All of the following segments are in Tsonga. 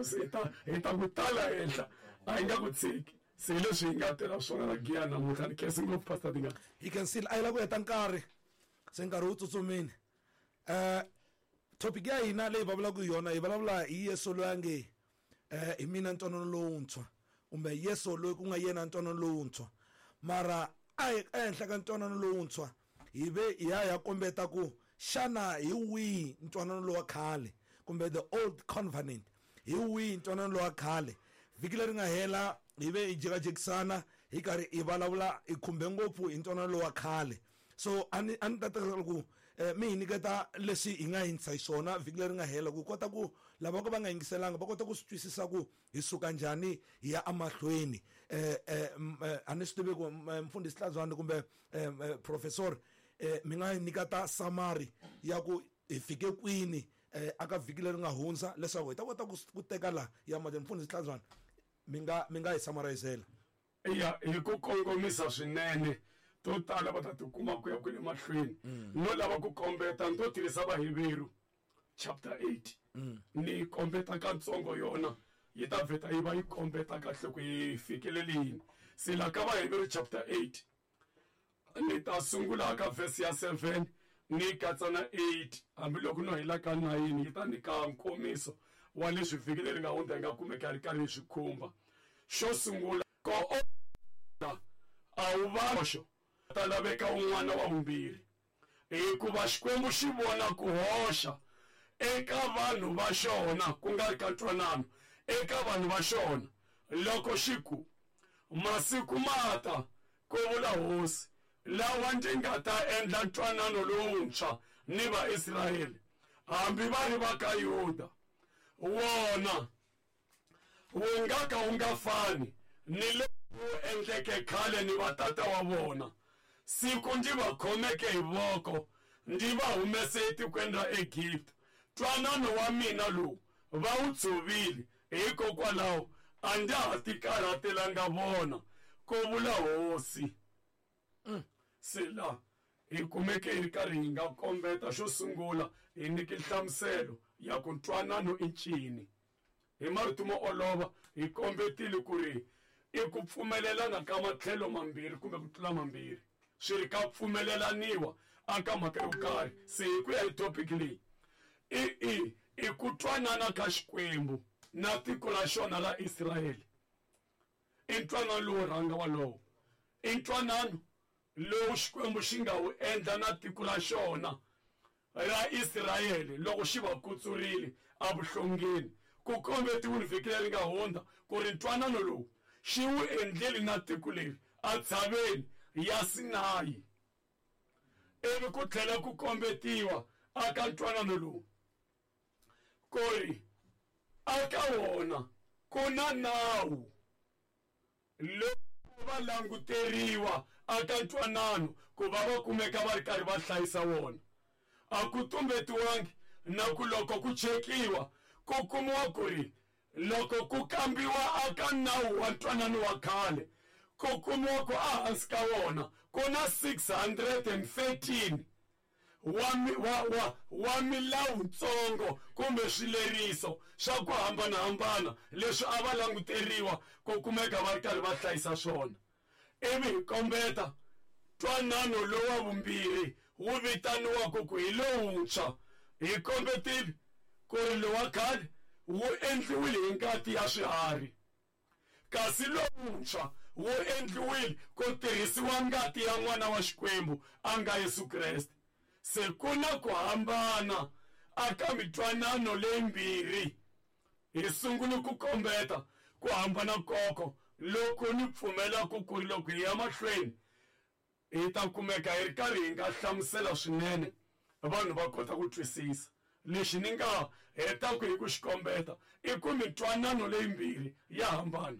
Se hi ta hi ta ku tala henhla a hi nga ku tshiki se hi leswi hi nga tela swona la giya namuntlha ni khensi ngopfu pastor Dingani. Hi khensile a yi lava ku heta nkarhi se nkarhi wu tsutsumile um topic ya hina leyi vulavulaka hi yona hi vulavula hi Yesu loyi a nge um hi mina ntwanano lowuntshwa kumbe Yesu loyi ku nga yena ntwanano lowuntshwa mara a hi ehenhla ka ntwanano lowuntshwa hi ve hi ya ya kombeta ku xana hi wihi ntwanano lowa khale kumbe the old covenant hi wihi ntwanano lowa khale vhiki leri nga hela hi ve hi jekajekisana hi karhi hi vulavula hi khumbe ngopfu hi ntwanano lowa khale so a ni a ni ta tekela ku eh, mi hi nyiketa leswi hi nga yingisa hi swona vhiki leri nga hela ku kota ku lava ka va nga yingiselanga va kota ku swi twisisa ku hi suka njhani hi ya emahlweni eh, eh, eh, a ni swi tivi ku mfundhisi Hlazwani kumbe professor mi nga hi nyika ta summary ya ku hi fike kwini aka vhiki leri nga hundza leswaku hi ta kota ku teka la ya mahlweni mfundhisi Hlazwani mi nga mi nga hi summarizela. Ya hi ku kongomisa swinene to tala va ta tikuma ku ya kwele mahlweni no lava ku kombeta ni to tirhisa Vaheveru chapter 8 ni kombeta katsongo yona yi ta vheta yi va yi kombeta kahle ku yi fikelele yini se la ka Vaheveru chapter 8 ni ta sungula ka verse ya 7 ni katsa na 8 hambiloko no hela ka 9 yi ta nyika nkomiso wa leswi vhiki leri nga hundza hi nga kumeka ri karhi hi swi khumba xo sungula ko a wu va ta laveka un'wana wa vumbirhi hikuva Xikwembu xi vona ku hoxa eka vanhu va xona ku nga ri ka ntwanano eka vanhu va xona loko xi ku masiku ma ta ku vula hosi lawa ndzi nga ta endla ntwanano lowuntshwa ni Vaisrayele hambi va ri va ka Yuda wona wu nga ka wu nga fani ni lowu wu endleke khale ni vatata wa vona siku ndzi va khomeke hi voko ndzi va humese etikweni ra Egipta ntwanano wa mina lowu va wu tshovile hikokwalaho a ndza ha tikarhatelanga vona ku vula hosi Se la hi kumeke hi ri karhi hi nga kombeta xo sungula hi nyike nhlamuselo ya ku ntwanano i ncini hi marito mo olova hi kombetile ku ri i ku pfumelelana ka matlhelo mambirhi kumbe ku tlula mambirhi swi ri ka pfumelelaniwa aka mhaka yo karhi se hi ku ya hi topic leyi i i i ku twanana ka Xikwembu na tiko ra xona ra Israyele I ntwanano lowo rhanga walowo. I ntwanano lowu Xikwembu xi nga wu endla na tiko ra xona ra Israyele loko xi va kutsurile evuhlongeni. Ku kombetiwile vhiki leri nga hundza ku ri ntwanano lowu xi wu endlile na tiko leri entshaveni ya Sinayi. Ivi ku tlhela ku kombetiwa aka ntwanano lowu ku ri aka wona ku na nawu lowu va languteriwa aka ntwanano ku va va kumeka va ri karhi va hlayisa wona a ku tumbetiwangi na ku loko ku chekiwa ku kumiwa ku ri loko ku kambiwa aka nawu wa ntwanano wa khale ku kumiwa ku ehansi ka wona ku na 613 wa, wa, wa, wa milawutsongo kumbe swileriso swa ku hambanahambana leswi a va languteriwa ku kumeka va ri karhi va hlayisa swona ivi hi kombeta ntwanano lowa vumbirhi wu vitaniwaka ku hi lowuntshwa hi kombetile ku ri lowa khale wu endliwile hi ngati ya swiharhi kasi lowuntshwa wu endliwile ku tirhisiwa ngati ya n'wana wa Xikwembu a nga Yesu Kreste. Se ku na ku hambana aka mitwanano leyimbirhi. Hi sungule ku kombeta ku hambana koko loku ni pfumelaka ku ri loko hi ya mahlweni hi ta kumeka hi ri karhi hi nga hlamusela swinene vanhu va kota ku twisisa lexi ni nga hetaka hi ku xi kombeta i ku mitwanano leyimbirhi ya hambana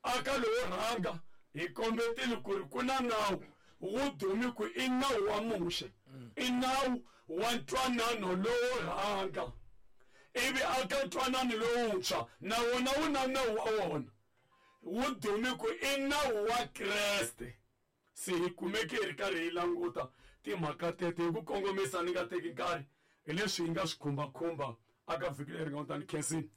aka lowo rhanga hi kombetile ku ri ku na nawu wu dumi ku i nawu wa Muxe i nawu wa ntwanano lowo rhanga ivi aka ntwanano lowuntshwa na wona wu na nawu wa wona wu dume ku i nawu wa Kreste se hi kumeke hi ri karhi hi languta timhaka tete hi ku kongomisa ni nga teki nkarhi hi leswi hi nga swi khumbakhumba Aka vhiki leri nga hundza ni khensini.